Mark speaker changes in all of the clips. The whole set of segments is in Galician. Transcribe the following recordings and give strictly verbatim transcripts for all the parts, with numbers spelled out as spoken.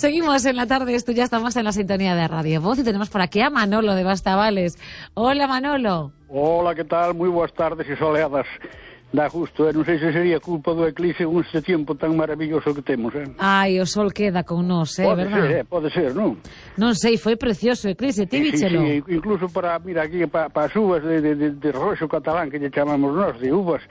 Speaker 1: Seguimos en la tarde, esto ya estamos en la sintonía de Radio Voz y tenemos por aquí a Manolo de Bastavales. Hola, Manolo.
Speaker 2: Hola, que tal? Moi boas tardes e soleadas. Dá gusto, eh? Non sei se sería culpa do eclipse con este tempo tan maravilloso que temos, eh?
Speaker 1: Ai, o sol queda con nós, eh,
Speaker 2: pode
Speaker 1: verdad?
Speaker 2: Ser, eh? Pode ser, non?
Speaker 1: Non sei, foi precioso o eclipse, ti víchelo?
Speaker 2: Sí, sí, incluso para, mira, aquí, para pa as uvas de, de, de, de roxo catalán, que lle chamamos nós, de uvas,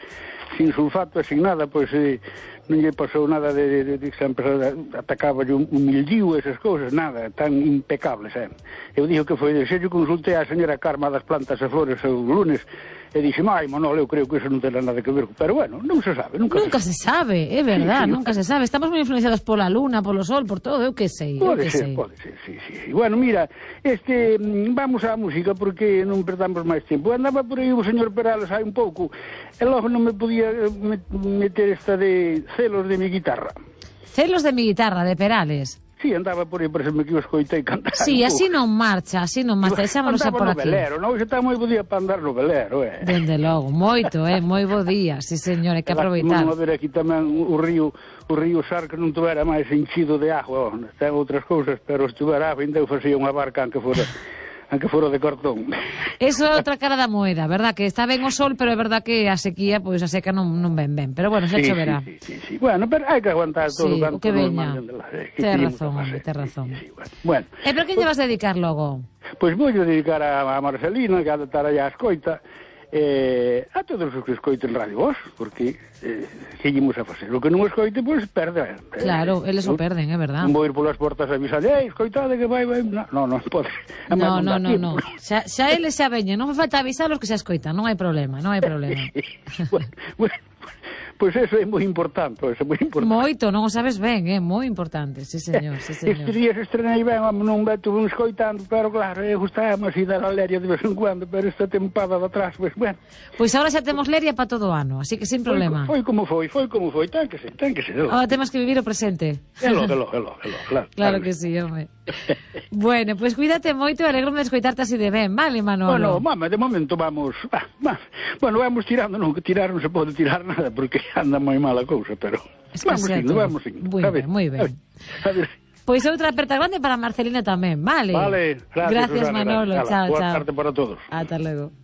Speaker 2: sin sulfato e sin nada, pois eh, non lle pasou nada de, de, de, de sempre atacaba un, un mildiu e esas cousas, nada, tan impecables, eh? Eu digo que foi, se yo consultei a señora Carma das plantas e flores o lunes, e dixeme, ai, Manolo, eu creo que eso non ten nada que ver, pero bueno, non se sabe, nunca,
Speaker 1: nunca se, se sabe, é verdad, sí, sí, nunca se sabe, estamos moi influenciados pola luna, polo sol, por todo, eu que sei, eu
Speaker 2: pode
Speaker 1: que
Speaker 2: ser,
Speaker 1: sei.
Speaker 2: Pode ser, sí, sí, sí. Bueno, mira, este, vamos á música porque non perdamos máis tempo. Andaba por aí o señor Perales hai un pouco, e logo non me podía meter esta de celos de mi guitarra.
Speaker 1: Celos de mi guitarra, de Perales.
Speaker 2: Sí, andaba por aí, por exemplo, que o escoitei cantar.
Speaker 1: Sí, así non marcha, así non marcha, deixámonos xa por aquí.
Speaker 2: Andaba no velero, non? Xe está moi bo día para andar no velero, eh?
Speaker 1: Dende logo, moito, eh, moi bo día, sí, señor, hai que aproveitar.
Speaker 2: Vamos a ver aquí tamén o río, o río Sar, que non tuvera máis enchido de agua, oh, ten outras cousas, pero se tuvera agua, ainda eu facía unha barca, aunque fora... aunque fora de cartón.
Speaker 1: Eso é outra cara da moeda, verdad? Que está ben o sol, pero é verdad que a sequía, pois pues, a seca non, non ven ben. Pero bueno, xa sí, choverá.
Speaker 2: Sí, sí, sí, sí. Bueno, pero hai que aguantar todo
Speaker 1: sí,
Speaker 2: o
Speaker 1: que veña. Ten razón, ten razón.
Speaker 2: Sí, sí, bueno. bueno.
Speaker 1: E pero que lle vas dedicar logo?
Speaker 2: Pois pues vou dedicar a, a Marcelina, que ha de estar allá a escoita, eh, a todos os que escoiten Radio Voz, porque eh, que llemos a facer. O que non escoite, pois, pues, perde. Eh,
Speaker 1: claro, eles o perden, é verdad.
Speaker 2: Non vou ir polas portas a avisarle, ei, escoitade que vai, vai... No, non, non pode.
Speaker 1: No, no, no, no. Xa, xa eles xa veñen, non me falta avisarlos que xa escoitan, non hai problema, non hai problema.
Speaker 2: bueno, bueno. Pois pues eso é moi importante, eso é moi importante.
Speaker 1: Moito, non o sabes ben, é moi importante, sí señor, sí señor.
Speaker 2: Estes días estrenei ben, non me tuve un escoitando, pero claro, eu gustaba así dar a leria de vez en cuando, pero esta tempada de atrás, pois, bueno.
Speaker 1: Pois agora xa temos leria para todo o ano, así que sin problema.
Speaker 2: Foi, foi como foi, foi como foi, ten que ser, ten que ser.
Speaker 1: Ahora temos que vivir o presente.
Speaker 2: Elo, elo, elo, elo, claro.
Speaker 1: Claro que sí, home. Bueno, pois pues cuídate moito, alegro-me de escoitarte así de ben, vale, Manolo?
Speaker 2: Bueno, mama, de momento vamos, va, va. Bueno, vamos tirando, non, que tirar non se pode tirar nada, porque anda moi mala cousa, pero es que vamos indo, vamos indo.
Speaker 1: Moi ben, moi ben.
Speaker 2: A ver.
Speaker 1: Pois outra aperta grande para Marcelina tamén, vale?
Speaker 2: Vale, gracias,
Speaker 1: gracias
Speaker 2: Susana,
Speaker 1: Manolo,
Speaker 2: gracias.
Speaker 1: Chao,
Speaker 2: Boa
Speaker 1: chao.
Speaker 2: tarde para todos.
Speaker 1: Ata logo.